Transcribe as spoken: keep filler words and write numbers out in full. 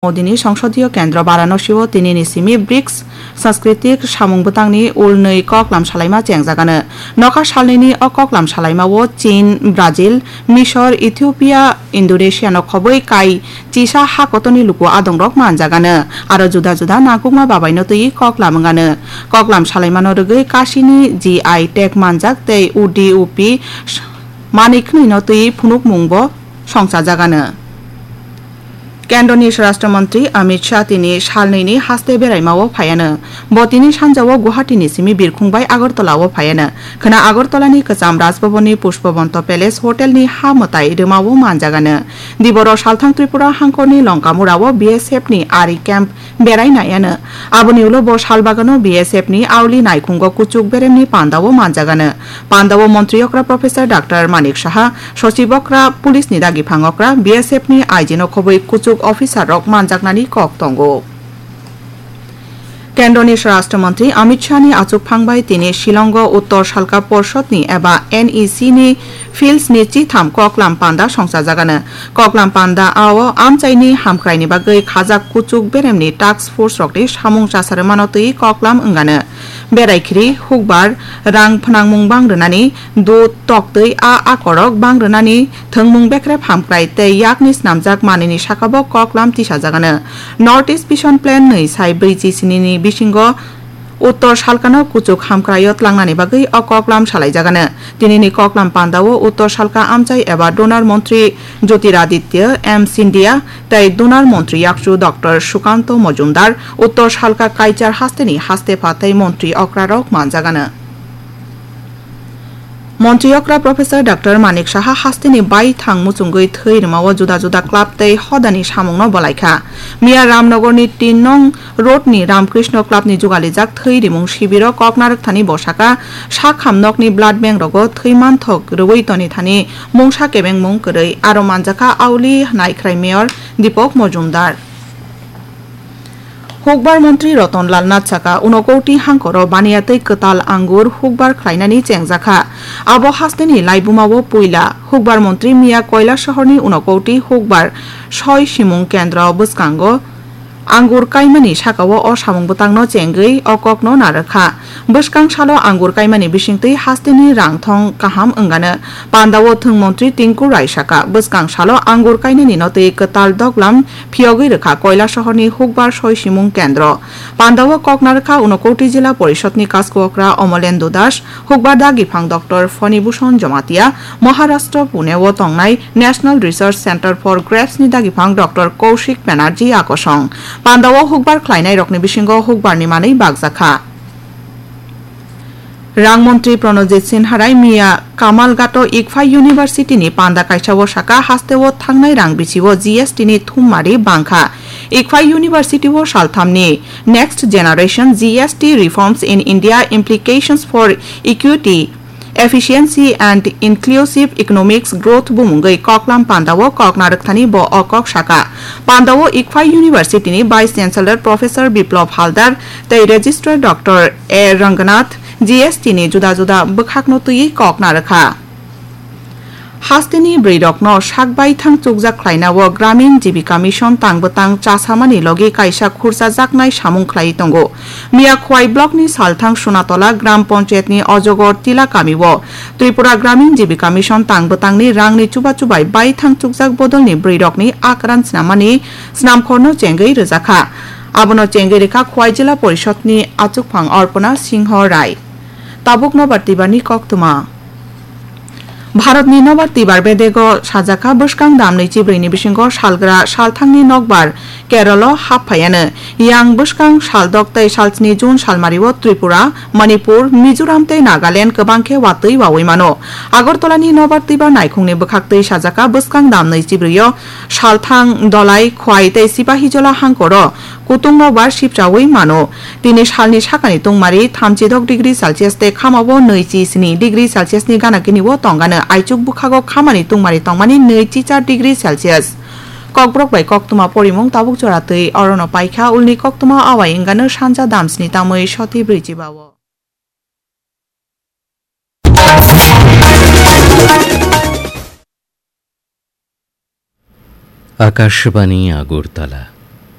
Modini Songsodiyo Kendro Varanasi-o tinini simi brics Sanskritik samung bwtangni ulnwi koklam salaima chengjagano. Nokha salnwini o koklam salaima-o Chin, Brazil, Misor, Ethiopia, Indonesia no khobwi kai chisa ha kotorni luku adongrok manjagano. Aro juda juda nangkukma babaino twi koklam wngano. Koklam salaimano rwgwi kasini G I tag manjak tei U D U P manwi khwnwino twi phunukmungbo songchajagano. Kendroni Swarashtra Mantri Amit Shah tini salnwini haste beraimao phaiano. Bo tini sanjao Guwahati ni simi birkhung bai Agartala o phaiano. Khwna Agartala ni kwcham Rajbhavan ni Pushpabanta Palace Hotel ni ha mwtai rwmao manjagano. Diboro salthang Tripura hangkor ni Longkamura o B S F ni ari camp berai naiano. Aboni ulo bo salbagano B S F ni auli naikhungo kuchuk beremni pandao manjagano. Pandao montri okra Professor Doctor Manik Saha, sochib okra, police ni dagi phang okra, B S F ni I G no khobwi kuchuk officer rok manjaknani kok tongo. Kendroni Swarashtra Mantri Amit Shah ni achukphang bai tini Shillongo Uttor Salka Porshod ni eba N E C ni fields ni chitham koklam panda songchajagano. Koklam panda o amchaini hamkraini bagwi khajak kuchuk beremni task force rokni samung chasarwmano twi koklam wngano. Berai khiri, hukbar, rang phnangmung bang rwnani, dud, toktwi a akorok bang rwnani, thwngmung bekrep hamkrai tei yakni snamjak manwini sakabo koklam tisajagano. North East Vision Plan nwi sai brwichi sinini bisingo Uttor Salkano kuchuk hamkraio tlangnani bagwi o koklam salaijagano. Tinini koklam pandao Uttor Salka amchai eba Donor Montri Jyotiraditya M Scindia tei Donor Montri yakchu Doctor Sukanto Mojumdar, Uttor Salka Kaichar hasteni haste pha tei montri okrarok manjagano. Montri okra Professor Doctor Manik Saha hasteni baithang muchungwi thwi rwmao juda juda club tei hodani samungno bolaikha. Miya Ramnogorni tin nong road ni Ramkrishna Club ni jugalijak thwi rimung sibiro kok narwkthani bosaka sakham nokni blood bank rogo thwi manthok rwui tonithani mungsa kebengmung kwrwi aro manjakha auli naikhrai Mayor Deepak Mojumdar. Hukbar Montri Roton Lal Nath saka, unokoti hangkoro baniya tei kwtal angur hukbar khlainani chengjakha. Abo hasteni laibumao puila Hukbar Montri miya Koilasohorni unokoti hukbar soi simung kendro bwskango angur kaimani sakao o samung bwtangno chengwi o kokno narwkha. Bwskang salo angur kaimani bisingtwi hasteni rang thong kaham wngano. Pandao thwng montri Tinku Rai saka, bwskang salo angur kainani no twi kwtal doglam phiyogwi rwkha Koilasohorni hukbar soi simung kendro. Pandao kok narwkha Unokoti Jila Porishod ni Kasku Okra Omolendu Das, hukbar dagi phang Doctor Fani Bhushan Jamatia, Maharashtra Pune o tongnai National Research Center for Grapes ni dagi phang Doctor Kaushik Banerjee akosong. Pandao hukbar khlainai rokni bisingo hukbar ni manwi bakjakha. Rang montri Pranojit Sinharai miya Kamalghato Ikphai University ni panda kaisao saka hasteo thangnai rang bichiwo G S T ni thummari bangkha. Ikphai University o salthamni Next Generation G S T Reforms in India, Implications for Equity, Efficiency and Inclusive Economics Growth bumungwi koklam pandao kok narwkthani bo o kok saka. Pandao Ikphai University ni Vice Chancellor Professor Biplab Haldar tei Registrar Doctor A Ranganath G S T ni juda juda bwkhakno twiwi kok narwkha. Hasteni bwrwirokno sak baithang chukjak khlainao Gramin Jibika Mission tang bwtang chasamani logi kaisa khurchajaknai samung khlaiwi tongo. Miyakhwai blockni salthang Sunatola Gram Panchayatni Ojogor Tila kamio Tripura Gramin Jibika Mission tang bwtangni rangni chubachu bai baithang chukjak bodolni bwrwirokni akran snamani snamkhorno chengwi rwjakha. Abono chengwi rwkha Khwai Jila Porishodni achukphang Arpana Singho Rai. Tabuk nobar twibarni koktwma. Bharatni nobar twibar bedego sajakha bwskang damni chibrwini bisingo salgra salthangni nokbar Kerala hap phaiano. Yang bwskang saldok tei salsni June salmario Tripura, Manipur, Mizoram tei Nagaland kwbang khe watwi wawi mano. Agartalani nobar twibar naikhungni bwkhaktwi sajakha bwskang damni chibrwio salthang Dolai, Khwai tei Sipahijola hangkoro kutung nobar sipchawi mano. Tini salni sakani tungmari thamchidok degree Celsius tei khamao nwichi sni degree Celsius ni gana gini o tongano. Aichuk bwkhago khamani tungmari tongmani nwichi char degree Celsius. Kokborok bai koktwma porimung tabuk jora twi orono paikha, ulni koktwma awai wngano sanja damsni tamwi soti brwichi bao. Akashbani Agartala.